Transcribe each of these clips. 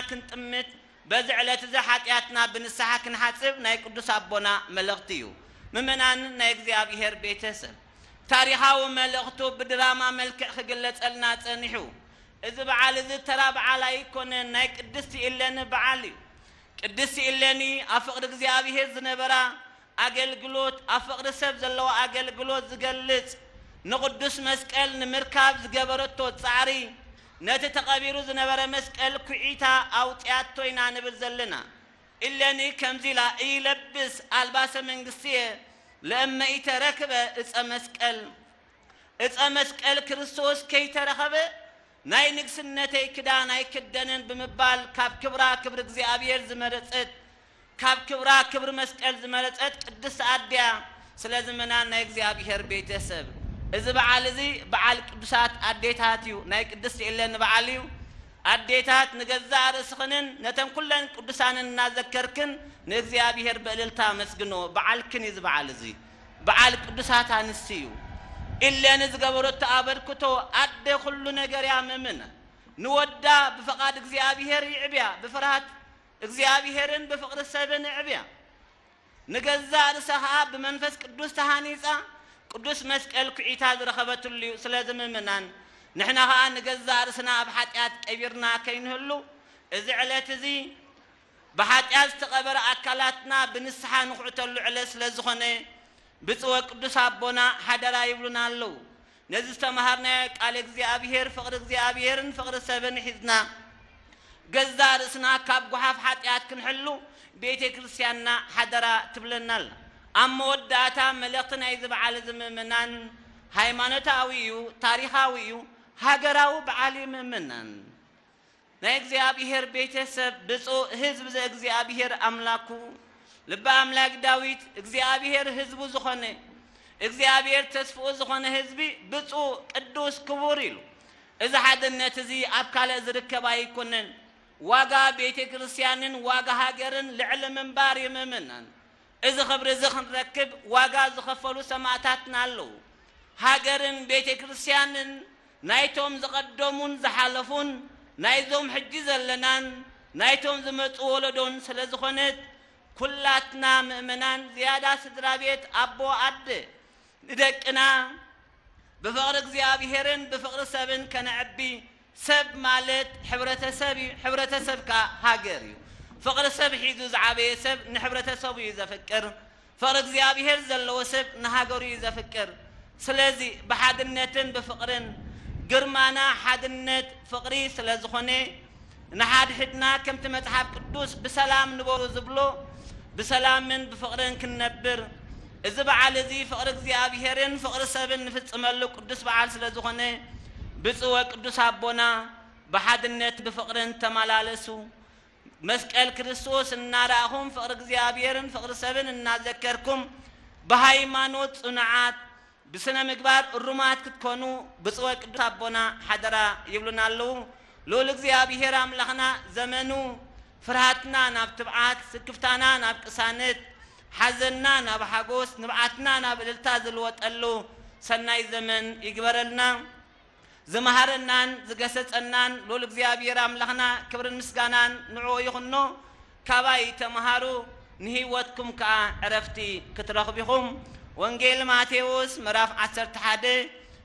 ክንጥምት፣ በዚ ዕለት እዚ ሓጢኣትና ብንስሓ ክንሓጽብ ናይ ቅዱስ ኣቦና መልእኽቲ እዩ። ምእመናን ናይ እግዚኣብሔር ቤተሰብ፣ ታሪኻዊ መልእኽቱ ብድራማ መልክዕ ክግለጸልና ጸኒሑ። እዚ በዓል እዚ ተራ በዓል ኣይኮነን፣ ናይ ቅድስቲ ኢለኒ በዓል እዩ። ቅድስቲ ኢለኒ ኣብ ፍቕሪ እግዚኣብሔር ዝነበራ ኣገልግሎት፣ ኣብ ፍቕሪ ሰብ ዘለዋ ኣገልግሎት ዝገልጽ፣ ንቕዱስ መስቀል ንምርካብ ዝገበረቶ ጻዕሪ፣ ነቲ ተቐቢሩ ዝነበረ መስቀል ኩዒታ ኣውጽያቶ ኢና ንብል ዘለና። ኢለኒ ከምዚ ኢላ፣ "ኢይለብስ ኣልባሰ መንግስትየ ለእመ ኢተረክበ እፀ መስቀል"፣ እፀ መስቀል ክርስቶስ ከይተረኸበ ናይ ንግስነተይ ክዳን ኣይክደንን ብምባል ካብ ክብራ ክብሪ እግዚኣብሔር ዝመረጸት፣ ካብ ክብራ ክብሪ መስቀል ዝመረጸት ቅድስቲ ኣድያ። ስለዚ ምእመናን ናይ እግዚኣብሔር ቤተሰብ፣ እዚ በዓል እዚ በዓል ቅዱሳት ኣዴታት እዩ። ናይ ቅድስቲ ኢለኒ በዓል እዩ። ኣዴታት ንገዛእ ርእስኽንን ነተን ኩለን ቅዱሳንን እናዘከርክን ንእግዚኣብሔር ብእልልታ ኣመስግኖ። በዓልክን እዩ እዚ በዓል እዚ። በዓል ቅዱሳት ኣንስቲ እዩ። ኢለኒ ዝገበረቶ ኣበርክቶ ኣደ ኩሉ ነገር እያ ምእምነ። ንወዳ ብፍቓድ እግዚኣብሔር ይዕብያ፣ ብፍርሃት እግዚኣብሔርን ብፍቕሪ ሰብን እዕብያ። ንገዛእ ርእሳ ኸኣ ብመንፈስ ቅዱስ ተሃኒጻ ቅዱስ መስቀል ኩዒታ ዝረኸበትሉ እዩ። ስለዚ ምእመናን ንሕና ኸኣ ንገዛእ ርእስና ኣብ ሓጢኣት ቀቢርና ከይንህሉ እዚ ዕለት እዚ ብሓጢኣት ዝተቐበረ ኣካላትና ብንስሓ ንኹዕተሉ ዕለት ስለ ዝኾነ ብፁዕ ወቅዱስ ኣቦና ሓደራ ይብሉና ኣለዉ። ነዚ ዝተምሃርናዮ ቃል እግዚኣብሔር፣ ፍቕሪ እግዚኣብሔርን ፍቕሪ ሰብን ሒዝና ገዛእ ርእስና ካብ ጓሓፍ ሓጢኣት ክንሕሉ ቤተ ክርስቲያንና ሓደራ ትብለና ኣላ። ኣብ መወዳእታ መልእኽቲ ናይዚ በዓል እዚ ምእመናን ሃይማኖታዊ እዩ፣ ታሪኻዊ እዩ፣ ሃገራዊ በዓል እዩ ምእመናን። ናይ እግዚኣብሔር ቤተሰብ ብፁዕ ህዝብ ዘእግዚኣብሔር ኣምላኩ ልበ ኣምላክ ዳዊት እግዚኣብሔር ህዝቡ ዝኾነ እግዚኣብሔር ተስፍኡ ዝኾነ ህዝቢ ብፁዕ ቅዱስ ክቡር ኢሉ። እዚ ሓድነት እዚ ኣብ ካልእ ዝርከብ ኣይኮነን። ዋጋ ቤተ ክርስቲያንን ዋጋ ሃገርን ልዕሊ ምንባር እዩ ምእመናን። እዚ ክብሪ እዚ ክንረክብ ዋጋ ዝኸፈሉ ሰማእታትና ኣለዉ። ሃገርን ቤተ ክርስቲያንን ናይቶም ዝቐደሙን ዝሓለፉን ናይዞም ሕጂ ዘለናን ናይቶም ዝመጹ ወለዶን ስለ ዝኾነት ኩላትና ምእመናን ዝያዳ ስድራ ቤት ኣቦ ኣደ ንደቅና ብፍቕሪ እግዚኣብሔርን ብፍቕሪ ሰብን ከነዕቢ። ሰብ ማለት ሕብረተሰብ እዩ፣ ሕብረተሰብ ከኣ ሃገር እዩ። ፍቕሪ ሰብ ሒዙ ዝዓበየ ሰብ ንሕብረተሰቡ እዩ ዘፍቅር። ፍቕሪ እግዚኣብሔር ዘለዎ ሰብ ንሃገሩ እዩ ዘፍቅር። ስለዚ ብሓድነትን ብፍቕርን ግርማና ሓድነት ፍቕሪ ስለ ዝኾነ ንሓድሕድና ከምቲ መጽሓፍ ቅዱስ ብሰላም ንበሩ ዝብሎ ብሰላምን ብፍቕርን ክንነብር እዚ በዓል እዚ ፍቕሪ እግዚኣብሔርን ፍቕሪ ሰብን ንፍጽመሉ ቅዱስ በዓል ስለ ዝኾነ ብፁዕ ወቅዱስ ኣቦና ብሓድነት ብፍቕርን ተመላለሱ። መስቀል ክርስቶስ እናረኣኹም ፍቕሪ እግዚኣብሔርን ፍቕሪ ሰብን እናዘከርኩም ብሃይማኖት ጽኑዓት ብስነ ምግባር እሩማት ክትኮኑ ብፁዕ ወቅዱስ ኣቦና ሓደራ ይብሉና ኣለዉ። ልኡል እግዚኣብሔር ኣምላኽና ዘመኑ ፍርሃትና ናብ ትብዓት፣ ስክፍታና ናብ ቅሳነት፣ ሓዘንና ናብ ሓጎስ፣ ንብዓትና ናብ እልልታ ዝልወጠሉ ሰናይ ዘመን ይግበረልና። ዝመሃረናን ዝገሰጸናን ልኡል እግዚኣብሔር ኣምላኽና ክብርን ምስጋናን ንዕኡ ይኹኖ። ካባይ ተምሃሩ፣ ንህይወትኩም ከኣ ዕረፍቲ ክትረኽቡ ኢኹም። ወንጌል ማቴዎስ ምዕራፍ ዓሰርተ ሓደ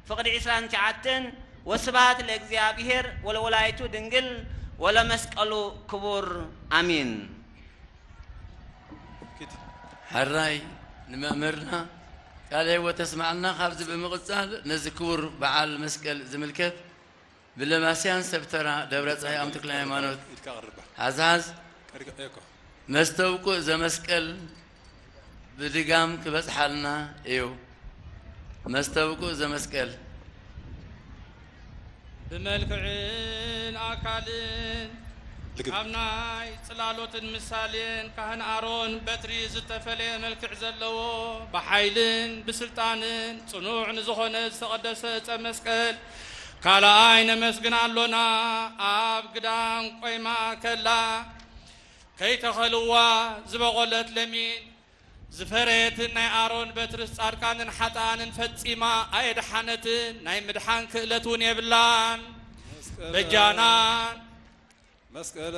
ፍቕዲ ዕስራን ትሽዓተን። ወስብሐት ለእግዚኣብሔር ወለወላዲቱ ድንግል ወለመስቀሉ ክቡር። ኣሜን። ሕራይ ንመምህርና ቃለ ህይወት ተስማዕና። ካብዚ ብምቕጻል ነዚ ክቡር በዓል መስቀል ዝምልከት ብለማስያን ሰብ ተራ ደብረጻይ ኣም ተክለ ሃይማኖት ኢድካ ቅርባ። ሓዝሓዝ። ቀሪብ እኮ። መስተብቁእ ዘመስቀል ብድጋም ክበጽሓልና እዩ። መስተብቁእ ዘመስቀል። ብመልክዕን ኣካልን ልግብ። ካብ ናይ ጽላሎትን ምሳሌን ካህን ኣሮን በትሪ ዝተፈለየ መልክዕ ዘለዎ፣ ብሓይልን ብስልጣንን ጽኑዕ ንዝኾነ ዝተቐደሰ ዕጸ መስቀል ካልኣይ ነመስግን ኣሎና። ኣብ ግዳም ቆይማ ከላ ከይተኸልዋ ዝበቖለት ለሚን ዝፈረየትን ናይ ኣሮን በትርስ ጻድቃንን ሓጥኣንን ፈጺማ ኣየድሓነትን፣ ናይ ምድሓን ክእለት እውን የብላን። መስቀለ በጃናን መስቀለ